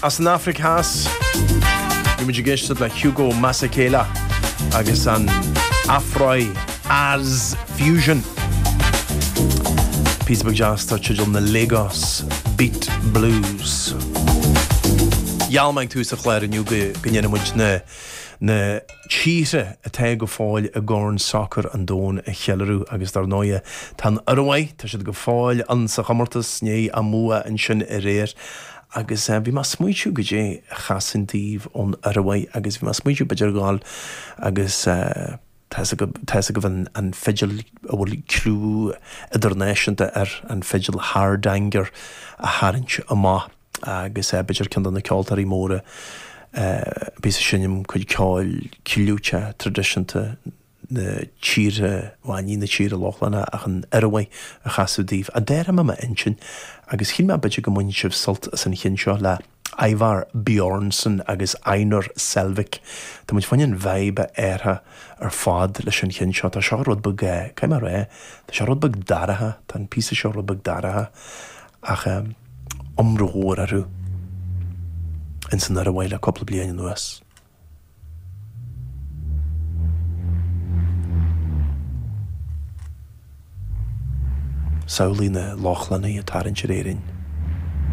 As an Afraic Theas, bhí muid ag éisteacht le Hugo Masekela agus an Afro-Az Fusion. Píosa beag deas dar teideal na Lagos Beat Blues. Gheall mé ag tús an chláir inniu go ndéanfaidh muid na na tíortha atá go fóill i gCorn Sacair an Domhain a cheiliúradh agus dar ndóighe tá an Ioruaidh, tá siad go fóill ann sa chomórtas, i ndiaidh a mbua ansin aréir agus bhí mé ag smaoitiú goidé a chasfainn daoibh ón Ioruaidh agus bhí mé ag smaoitiú b'fhéidir a ghabháil agus tá 'fhios agaibh, tá 'fhios agaibh an an fidil a bhfuil clú idirnáisiúnta air, an fidil Hardanger a tharraingt amach. agus b'fhéidir ceann de na ceoltóirí móra a bhíos ag seinm cuid ceoil clúiteach traidisiúnta na tíre, bhuel ní na tíre Lochlannacha ach an Ioruaidh a chasadh daoibh. Ach d'athraigh mé m'intinn agus shíl mé b'fhéidir go mbainfidh sibh sult as an cheann seo le Ivar Bjornsen agus Einar Selvik. Tá muid fá choinne an vibe a athrú ar fad leis an cheann seo. Tá seo rud beag, caithfidh mé a rá, tá seo rud beag dorcha, tá an píosa seo rud beag dorcha ach iomrá mhór orthu ins an Ioruaidh le cúpla bliain anuas. Samhlaigh na Lochlannaigh ag tarraingt ar Éirinn.